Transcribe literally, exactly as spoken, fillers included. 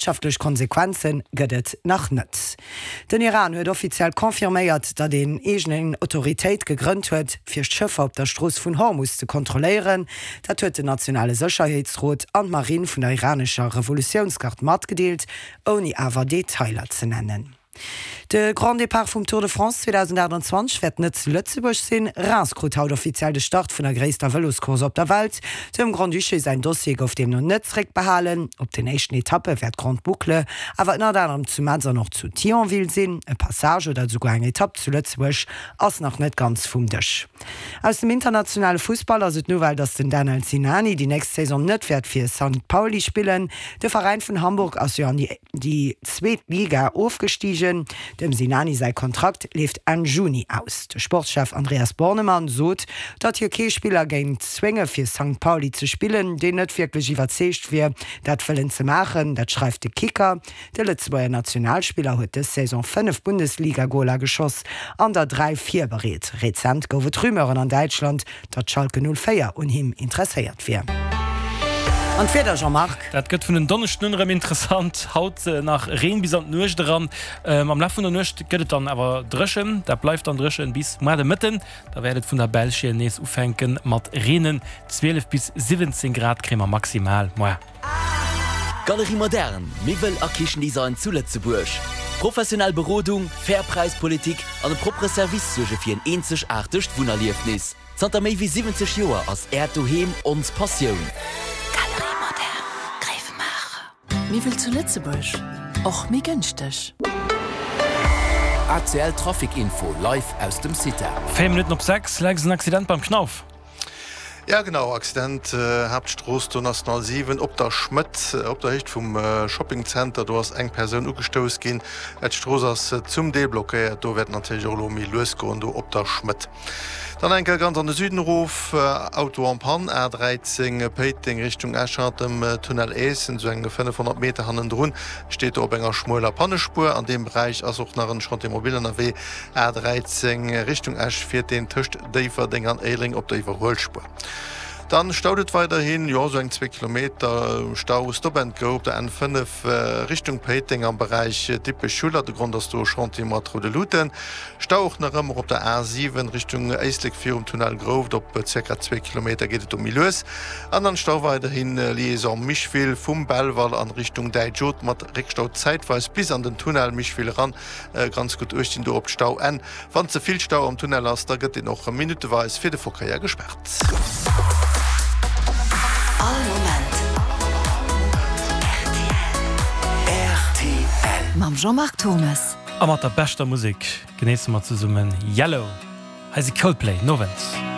Wirtschaftlech Konsequenze gëtt et nach net. Den Iran huet offiziell confirméiert, datt een eegen Autoritéit gegrënnt huet, fir d'Schëffer op der Strooss vun Hormus ze kontrolléieren. Dat huet den nationale Sécherheetsrot an d'Marinn vun der iranescher Revolutiounsgard matgedeelt, ouni awer Detailer ze nennen. De Grand Départ vum Tour de France zweedausendaachtanzwanzeg wäert net zu Lëtzebuerg sinn. Reims krut haut offiziell de Start vun der gréisster Vëloscourse op der Welt. Dem Grand-Duché säin Dossier gouf deemno net zeréckbehalen. Op den éischten Etappe wäert d'Grande Boucle awer ënnert anerem zu Metz an och zu Thionville sinn. E Passage oder esouguer eng Etapp zu Lëtzebuerg ass nach net ganz vum Dësch. Aus dem internationale Fussball ass et d'Nouvelle, datt den Danel Sinani déi nächst Saison net wäert fir Sankt Pauli spillen. De Veräin vun Hamburg ass jo an déi zweet Liga ofgestigen. Dem Sinani säi Kontrakt leeft Enn Juni aus. De Sportschef Andreas Bornemann sot, datt hie kee Spiller géing zwénge fir Sankt Pauli ze spillen, deen net wierklech iwwerzeegt wier, dat wëllen ze maachen. Dat schreift de Kicker. De Lëtzebuerger Nationalspiller huet dës Saison fënnef Bundesliga-Goler geschoss an der dräi virbereet. Rezent gouf et Rumeuren an Däitschland, datt Schalke null véier un him interesséiert wier. An d'Wieder, Jean-Marc? Dat gëtt vun en Donneschden un erëm interessant. Haut nach Reen bis an d'Nuecht eran. Am Laf vun der Nuecht gëtt et dann awer dréchen. Dat bleift dann dréchen bis muar de Mëtten. Da wäert et vun der Belsch hier nees ufänke mat reenen. zwielef bis siwwenzéng Grad kréie mer maximal muar. Galerie Moderne, Miwwel a Kichendesign zu Lëtzebuerg. Professionell Berodung, fair Präispolitik an e proppere Service suerge fir en eenzegaartegt Wunnerliefnis. Zanter méi wéi siwwenzeg Joer ass Äert Doheem ons Passioun. Galerie Moderne, Gréiwemaacher. Miwwel zu Lëtzebuerg, och méi gënschteg. A C L Trafic Info live aus dem CITA. Véier Minutten op sechs, Lex, en Accident beim Knauf. Ja genau, Accident Haaptstrooss do National siwen op der Schmëtt op der Héicht vum Shoppingzenter. Do ass eng Persoun ugestouss ginn. D'Strooss ass zum Deel blockéiert. Do wäert natierlech och elo méi lues goen do op der Schmëtt. Dann eng Kéier ganz an de Süden erof, Auto en panne, A dräizéng Péiteng Richtung Esch hannert dem Tunnel Eessen, esou eng fënnefhonnert Meter hannendrun, steet do op enger schmueler Pannespuer. An deem Beräich ass och nach en Chantier mobile ënnerwee, A dräizéng Richtung Esch fiert deen tëscht Déifferdeng an Éilereng op der Iwwerhuelspuer. Dann staut et weiderhin, jo esou eng zwee Kilometer Stau, Stop and Go op der N fënnef Richtung Péiteng am Beräich Dippech-Schuller. De Grond ass do e Chantier mat roude Luuten. Stau och nach ëmmer op der A siwen Richtung Éislek virum Tunnel Grouft, op zirka zwee Kilometer geet et do méi lues. An dann Stau weiderhin Liaison Micheville vum Belval an Richtung Däitsch-Oth mat Réckstau zäitweis bis an den Tunnel Micheville eran. Ganz gutt uecht dinn do op d'Stauenn. Wann ze vill Stau am Tunnel ass, da gëtt deen och minutteweis fir de Verkéier gespaart. All Moment rtl. Mam Jean-Marc Thommes. A mat der beschter Musek genéisse mer zesummen Yellow. Hei si Coldplay. Nowend.